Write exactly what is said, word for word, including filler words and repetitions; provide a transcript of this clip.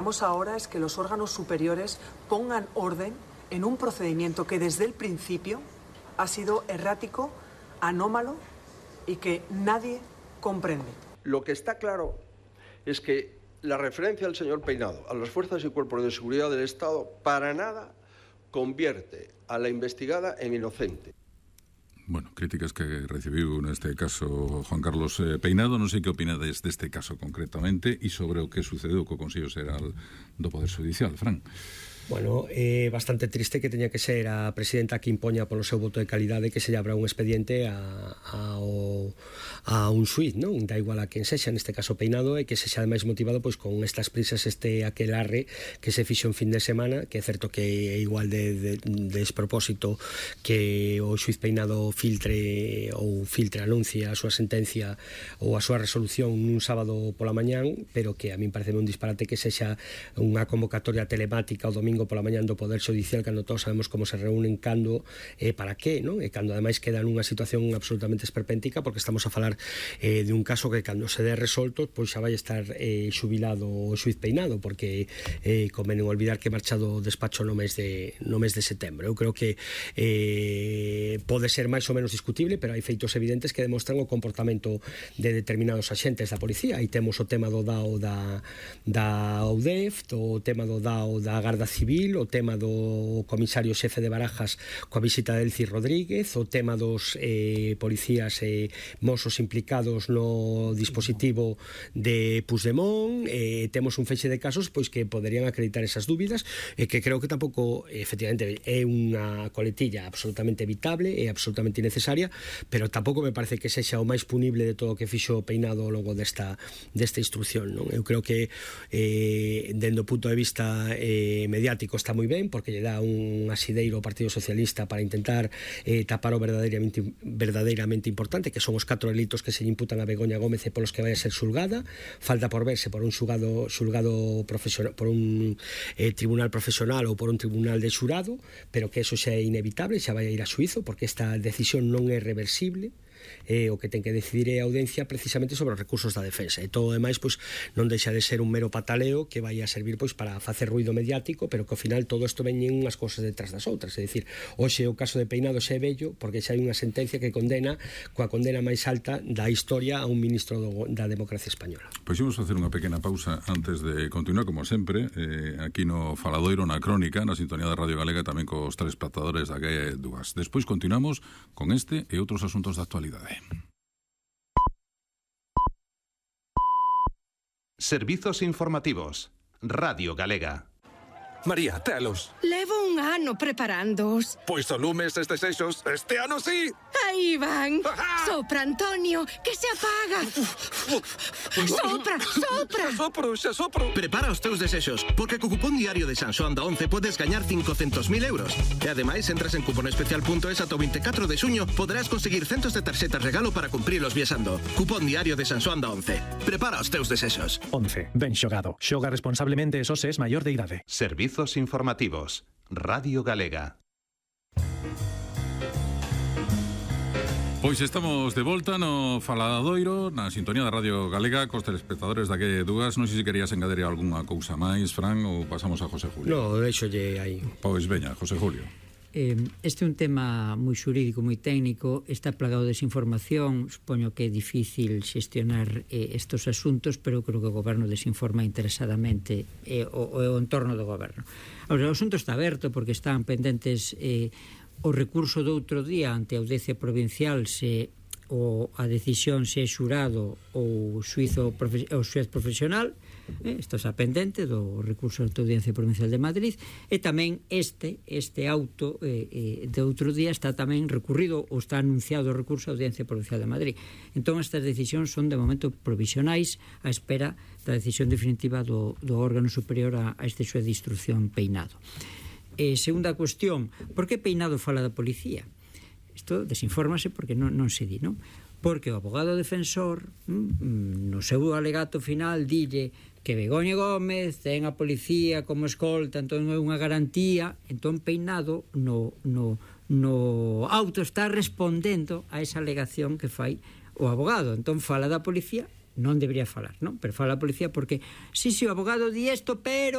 Vamos ahora es que los órganos superiores pongan orden en un procedimiento que desde el principio ha sido errático, anómalo y que nadie comprende. Lo que está claro es que la referencia del señor Peinado a las fuerzas y cuerpos de seguridad del Estado para nada convierte a la investigada en inocente. Bueno, críticas que recibiu neste caso Juan Carlos eh, Peinado. Non sei que opinades deste caso concretamente e sobre o que sucedeu co Consello Xeral do Poder Judicial, Fran. Bueno, é eh, bastante triste que teña que ser a presidenta que impoña polo seu voto de calidade que se lle abra un expediente a, a, o, a un xuiz, non? Da igual a quen sexa, neste caso Peinado, e que se xa máis motivado pois con estas prisas, este aquelarre que se fixo en fin de semana, que é certo que é igual de, de, de despropósito que o xuiz Peinado filtre ou filtre anuncie a súa sentencia ou a súa resolución nun sábado pola mañán, pero que a min parece un disparate que sexa unha convocatoria telemática o domingo pola mañán do Poder Judicial, cando todos sabemos como se reúnen, cando e eh, para qué, non? E cando ademais queda nunha situación absolutamente esperpéntica, porque estamos a falar eh, de un caso que cando se dé resolto pois xa vai estar eh, xubilado o xuiz Peinado, porque eh, convén olvidar que marcha do despacho no mes de no mes de setembro. Eu creo que eh, pode ser máis ou menos discutible, pero hai feitos evidentes que demostran o comportamento de determinados axentes da policía. Aí temos o tema do D A O da, da U D E F, o tema do D A O da Garda Civil, o tema do comisario xefe de Barajas coa visita de Elci Rodríguez, o tema dos eh, policías e eh, mozos implicados no dispositivo de Puigdemont. Eh, temos un feixe de casos pois que poderían acreditar esas dúbidas, e eh, que creo que tampouco, efectivamente, é unha coletilla absolutamente evitable e absolutamente innecesaria, pero tampouco me parece que sexa o máis punible de todo o que fixo Peinado ao longo desta, desta instrucción, non? Eu creo que eh, dende o punto de vista eh, mediático está moi ben, porque lle dá un asideiro ao Partido Socialista para intentar eh, tapar o verdadeiramente, verdadeiramente importante, que son os catro delitos que se lle imputan a Begoña Gómez e polos que vai a ser xulgada. Falta por verse por un xulgado, xulgado profesional, por un eh, tribunal profesional ou por un tribunal de xurado, pero que eso xa é inevitable, xa vai a ir a xuizo, porque esta decisión non é reversible. Eh, o que ten que decidir é a audiencia precisamente sobre os recursos da defensa, e todo o demais pois non deixa de ser un mero pataleo que vai a servir pois para facer ruido mediático, pero que ao final todo isto veñen unhas cousas detrás das outras. É dicir, hoxe o caso de Peinado xa é bello porque xa hai unha sentencia que condena coa condena máis alta da historia a un ministro do, da democracia española. Pois imos facer unha pequena pausa antes de continuar, como sempre, eh, aquí no Faladoiro, na Crónica, na sintonía da Radio Galega, tamén cos telespectadores da G dúas. Despois continuamos con este e outros asuntos da actualidade. Servizos informativos. Radio Galega. María, telos. Levo un ano preparándoos. Pois o lumes estes eixos, este ano sí. Aí van. Sopra, Antonio, que se apaga. Sopra, sopra. Xa sopro, xa sopro. Prepara os teus desexos, porque co cupón diario de San Xoán da once podes gañar cincocentos mil euros. E ademais, entras en cuponespecial punto es ata o veinticuatro de xuño, poderás conseguir centos de tarxetas regalo para cumprilos viaxando. Cupón diario de San Xoán da once. Prepara os teus desexos. once. Ben xogado. Xoga responsablemente e só se es maior de idade. Servizos informativos. Radio Galega. Pois estamos de volta no Faladoiro, na sintonía da Radio Galega, cos telespectadores da G dúas. Non sei se querías engadir algunha cousa máis, Fran, ou pasamos a José Julio. No, deixolle aí. Pois veña, José Julio. Eh, este é un tema moi xurídico, moi técnico, está plagado de desinformación. Supoño que é difícil xestionar eh, estos asuntos, pero creo que o goberno desinforma interesadamente eh, o, o entorno do goberno. Ahora, o asunto está aberto porque están pendentes eh, o recurso do outro día ante a audiencia provincial se o a decisión se é xurado ou xuizo o xuez profesional. Eh, isto está pendente do recurso da Audiencia Provincial de Madrid, e tamén este este auto eh, eh, de outro día está tamén recurrido ou está anunciado o recurso da Audiencia Provincial de Madrid. Entón estas decisións son de momento provisionais á espera da decisión definitiva do, do órgano superior a, a este xuez de instrucción Peinado. Eh, segunda cuestión, por que Peinado fala da policía? Isto desinfórmase porque non, non se di, non? Porque o abogado defensor mm, no seu alegato final dille que Begoña Gómez ten a policía como escolta, entón é unha garantía. Entón Peinado no, no, no auto está respondendo a esa alegación que fai o abogado. Entón fala da policía non debería falar, non? Pero fala a policía porque, sí, sí, o abogado di isto, pero